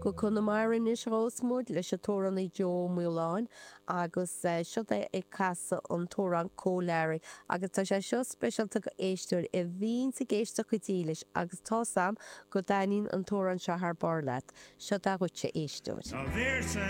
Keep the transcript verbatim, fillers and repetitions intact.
Go Conamara anois a ghabhfas muid leis an t-amhránaí Joe Ó Maoláin agus seo é ag casadh an t-amhrán Cóil Learaí agus tá sé seo speisialta do éisteoirí a bhíonns ag éisteacht go dílis agus tá's a'm go dtaitníonn an t-amhrán seo thar barr leat. Seo é dhuitse, a éisteoir. Tá véarsa